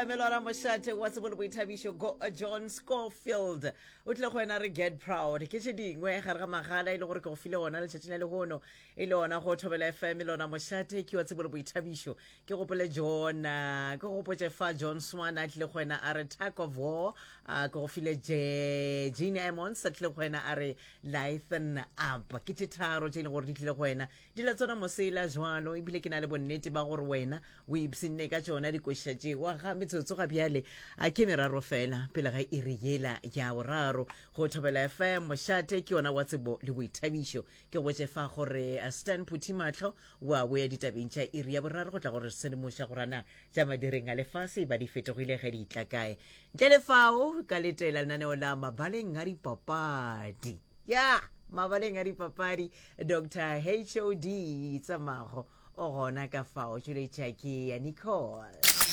FM lora mošate wa tsebo le boithabišo go John Scofield o tlile go wena re get proud ke tše dingwe gare ga magala e le gore ke go file ona letšatšing la lehono e le ona go thobela FM lona mošate ke wa tsebo le boithabišo ke gopole John ah, ke gopotše fa John Swan a tlile go wena a re tug of war ah, ke go file Je Gene Emmons a tlile go wena a re Lighten up ke tše tharo tše e leng gore di tlile go wena di la tsona mosela jwalo ebile ke na le bonnete ba gore wena o ipshinne ka tšona dikoša tšewa ga metsotso ga bjale a ke meraro fela pele ga iri yela ya boraro go thobela fm mošate ke yona wa tsebo le boithabišo ke botše fa gore eh, stan phuthi mahlo wa boya ditabeng tša iri ya boraro go tla gore sedimoša gorana tša madireng a lefase ba di fetogile ge di tla kae ntle le fao ka letela lenaneo la mabaleng a dipapadi ya mabaleng a dipapadi dr hod tsamago o gona ka fao tšweletša ke ya nicole.